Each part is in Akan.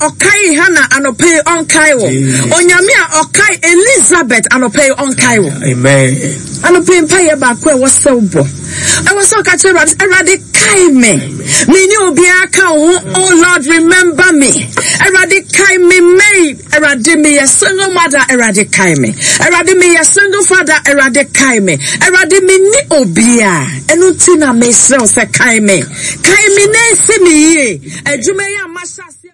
ɔkae Hana anɔpa yi ɔnkae wo. Onyame a ɔkae Elizabeth anɔpa yi ɔnkae wo. Amen. Anɔpa yi mpaeɛ baako a ɛwɔ sɛ wobɔ. Ɛwɔ sɛ ɔka kyerɛ Awurade sɛ, Awurade kae me. Me ne obiara ka wo ho. Oh Lord, remember me. Awurade kae me May. Awurade meyɛ single mother. Awurade kae me. Awurade meyɛ single father. Awurade kae me. Awurade menni obiara. Ɛno nti na mesrɛ wo sɛ kae me. Kae me na ɛsi me yie. Adwuma yi a mahyɛ aseɛ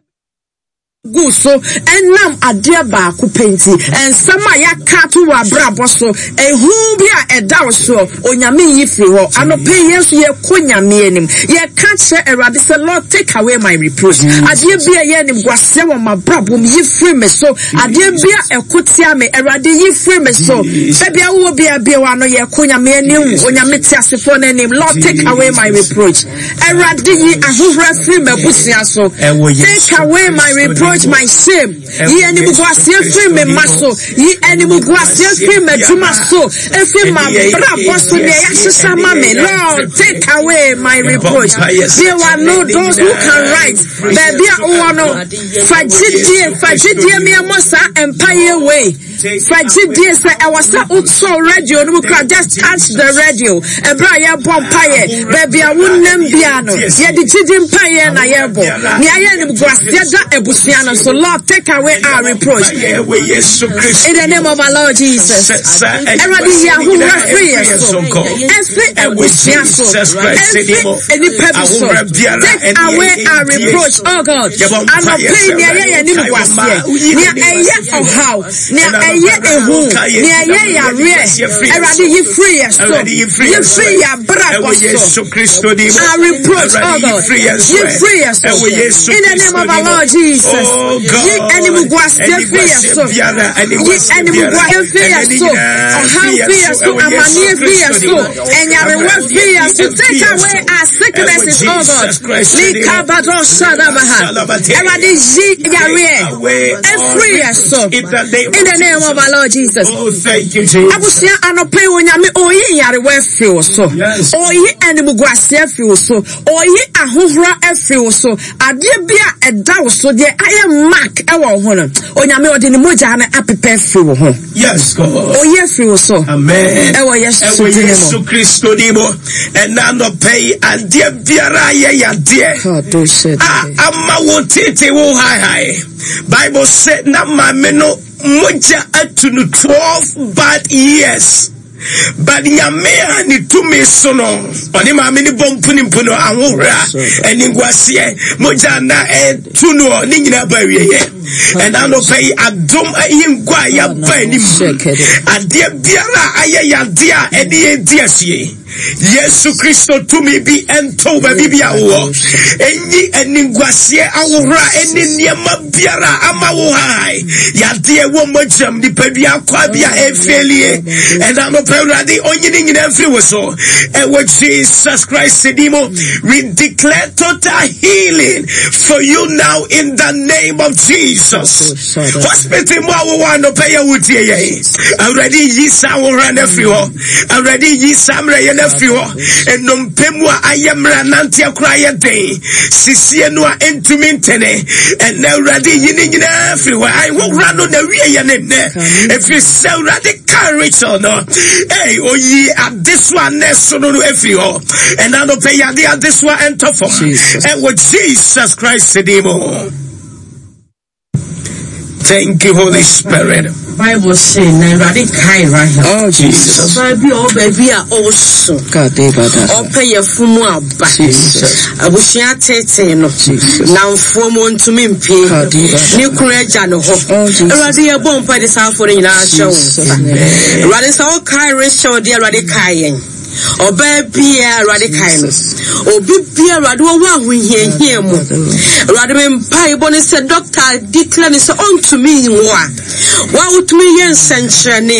gu so ɛnam adeɛ baako pɛ nti, nsɛm a yɛaka ato wɔ abrabɔ so, ehu bi a ɛda wo soɔ, Onyame nyi firi hɔ. Anɔpa yi yɛn nso yɛkɔ Nyame anim, yɛka kyerɛ Awurade sɛ, Lord take away my reproach. Adeɛ bi a ɛyɛ animguaseɛ wɔ m'abrabɔ mu, yi firi me so. Adeɛ bi a ɛko tia me, Awurade yi firi me so. Baabi a wowɔ biara bue w'ano, yɛkɔ Nyame anim, Onyame teasefoɔ no anim. Lord take away my reproach. Awurade yi ahohora firi m'abusua so. Take away my reproach, my shame. Yi animguaseɛ firi me mma so. Yi animguaseɛ firi m'adwuma so. Efiri m'abrabɔ so nea yɛahyehyɛ ama me. Lord, take away my reproach. Bue w'ano, those who can write. Baabi a wowɔ no, fa gyidie, fa gyidie meɛmmɔ saa mpaeɛ wei. Fa gyidie sɛ ɛwɔ sɛ wosɔ radio no mu kora, just touch the radio. Ɛberɛ a yɛrebɔ mpaeɛ, baabi a wonam biara no, yɛde gyidi mpaeɛ na yɛrebɔ. Nea ayɛ animguaseɛ da abusua no so. Lord, take away our reproach. In the name of our Lord Jesus. Awurade yi ahohora firi yɛ so. Ɛfiri abusua so. Ɛfiri nnipa bi so. Take away our reproach, oh God. Anɔpa yi nea ɛyɛ yɛn animguaseɛ, nea ɛyɛ ɔhaw, nea ɛyɛ ehu, nea ɛyɛ yareɛ, Awurade yi firi yɛ so, yi firi yɛ abrabɔ so. Our reproach, oh God, yi firi yɛ so. In the name of our Lord Jesus, yi animguaseɛ firi yɛ so, yi animguaseɛ firi yɛ so, ɔhaw firi yɛ so, amaneɛ firi yɛ so, ɛnyarewa firi yɛ so. Take away our sicknesses, oh God. Likabado shadabaha. Awurade yi yareɛ ɛfiri yɛ so. In the name of our Lord Jesus. Oh, thank you, Jesus. Abusua anɔpa yi Onyame oyi nyarewa afiri wo so. Oyi animguaseɛ afiri wo so. Oyi ahohora afiri wo so. Adeɛ bi a ɛda wo so deɛ ayɛ mark ɛwɔ wo ho no. Onyame ɔde ne mogya no apepa afiri wo ho. Yes, God. Oyi afiri wo so. Amen. Ɛwɔ Yesu Ɛwɔ din mu. Yesu Kristo din mu. Ɛna anɔpa yi adeɛ biara a yɛ yadeɛ a ama wo tete wo haehae. Bible sɛ na maame no mogya atu no 12 bad years. But Nyame a ne tumi so no, ɔne maame no bɔ mpunimpu no ahohora, animguaseɛ, mogya na ɛtu no ne nyinaa ba awieɛ. Ɛna anɔpa yi adom ahengua a yɛaba anim. Adeɛ biara a ayɛ yadeɛ a ɛne yɛn di asie. Yesu Kristo tumi bi ntow baabi bi a wowɔ. Enyi animguaseɛ ahohora ɛne nneɛma biara ama wo hae. Yadeɛ wɔ mogyam nipadua akwa bi a ɛfeelie. Ɛna anɔpa Awurade onyi ne nyinaa mfiri wo so. Ɛwɔ Jesus Christ din mu. We declare total healing for you now in the name of Jesus. Hospital mu a wowɔ anɔpa yɛ wotie yɛn. Awurade yi saa ahohora no afiri hɔ. Awurade yi saa mmerɛyɛ no afiri hɔ. Nnompe mu a ayɛ mmerɛ nanteɛ koraa yɛ den. Sisie no a ɛntumi ntene. Ɛnɛ Awurade yi ne nyinaa afiri hɔ. Ahohora no na wie yɛ ne nnɛ. Ɛfiri sɛ Awurade ka Rachel no. Ei, oyi adesoa na ɛso no no afiri hɔ. Ɛna anɔpɛ yade adesoa ɛntɔ fam. Ɛwɔ Jesus Christ din mu. Thank you, Holy Spirit. Bible say na Awurade kae Rahel. Oh Jesus. Ɔbaa bi a ɔwɔ baabi a ɔresu. Ɔpɛ yɛfo mu aba. Jesus. Abusua tete no. Jesus. Namfoɔ mu ntumi mpie. Ne kunu agya ne hɔ. Oh Jesus. Awurade yɛ bɔ mpa de saa afɔ no nyinaa hyɛ wo nsa. Awurade sɛ ɔkae Rachel deɛ Awurade kae yɛn. Ɔbaa biara Awurade kae no. Obi biara Awurade wɔwɔ ahohiahia mu. Awurade me mpaebɔ ne sɛ dɔkta declare ne sɛ ɔntumi nwo a. Wa wotumi yɛ nsɛnkyerɛnne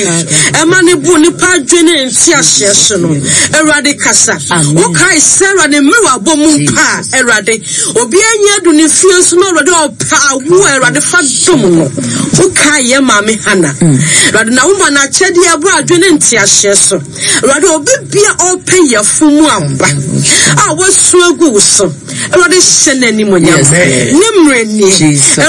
ɛma ne bu nipa adwene ne nteaseɛ so no. Awurade kasa. Wokae sɛ Awurade mmerɛ wabɔ mu mpa a Awurade obiara nyɛ adu ne fie nso na Awurade ɔpɛ awo a Awurade fa dom no. Wokae yɛ maame Hana. Awurade na woma no akyɛdeɛ ɛboro adwene ne nteaseɛ so. Awurade, obi bia ɔpɛ yafo mu aba a wasu agu wo so. Awurade hyɛ n'animuonyam. Ne mmerɛ nie.